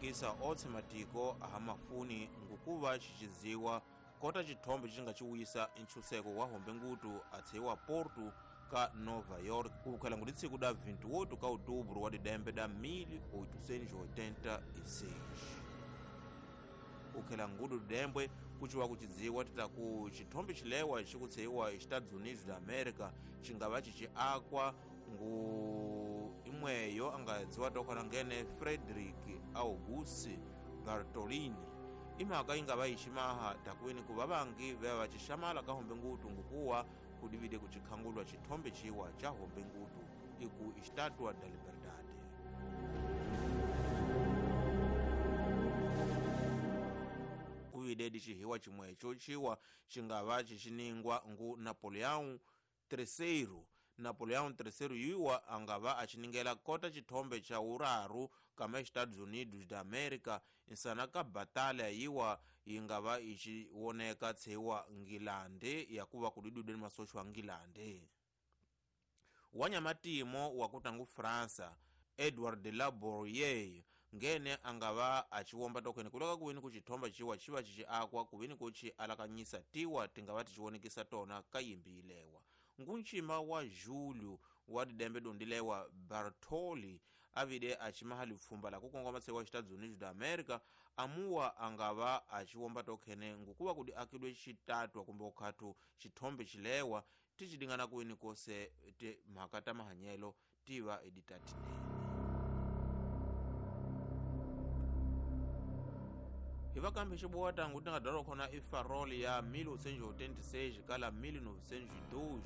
Xiwonekisa otse matiko ahamafuni ngukuva xixiziwa kota xithombe xi nga xi wisa nchuseko wa hombe ngutu atseiwa Porto ka Nova York kuvukhela ngu litsiku da 28 ka outubro wa didembe da 1886. Kukhela ngudu didembwe kuciwa kucidziwa titaku xithombe xilewa xi kutseiwa Estados Unidos da América xingava cici akwa ngu imweyo angadziwa tokhona ngene Frederick Auguste Bartolini. Imhaka ingava iximaha takuweni ku vavangi veva va xixamala ka hombe ngutu ngukuwa kudivide kucikhangulwa xithombe ciwa ca hombe ngutu iku Estátua da Liberdade. Kuvide dixihiwa cimweco ciwa xingava xixiningwa ngu Napoleão III. Napoleão III yiwa angava axiningela kota xithombe xa uraru kama Estados Unidos da América insana ka batalha yiwa yingava ixiwoneka tseiwa Ngilande yakuva kudidudeni masocho a Ngilande. Wanyamatimo wakutangu França Edward de la Bourier ngene angava aciwomba tokhene kuloka kuwini kucithomba ciwa civa cici akwa kuwini kuci alakanyisa tiwa tingava ticiwonekisa tona ka yimbi ilewa. Ngunxima wa Julio wa didembe dundilewa Bartoli avide acimaha lipfumba la kukongoma tseiwa Estados Unidos da América amuwa angava aciwomba tokhene ngukuva kudi akidwe xitatwa kumbe okhathu xithombe xilewa ticidingana kuwini kose te mhaka ta mahanyelo tiva editatinene. Hi vakambe xibowa tangu ti nga byariwa khona i farol ya 1886 kala 1902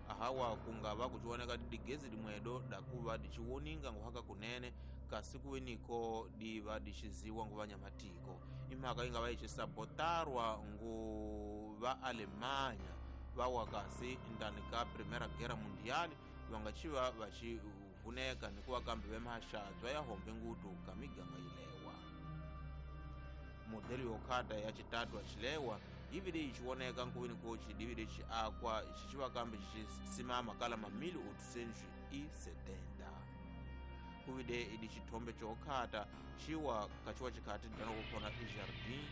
ahawa kungava kuciwoneka digezi dimwedo dakuva diciwoninga nguhaka kunene kasi kuweniko diva dixiziwa ngu vanyamatiko. Imhaka yi nga va yixisabotarwa ngu va Alemanya vawa kasi ndani ka Primera Guerra Mundial va nga xiva va xivuneka ni kuva kambe vemaxadzwa ya hombe ngutu ka miganga yilewa. Modelo yokhata ya xitatwa xilewa yivile yixiwoneka nkuwini koci divile xi akwa xixiva kambe xisimama kala ma 1870. Kuvide idi xithombe xokhata xiwa kaxiwa xikhati dana kukhona i Jardim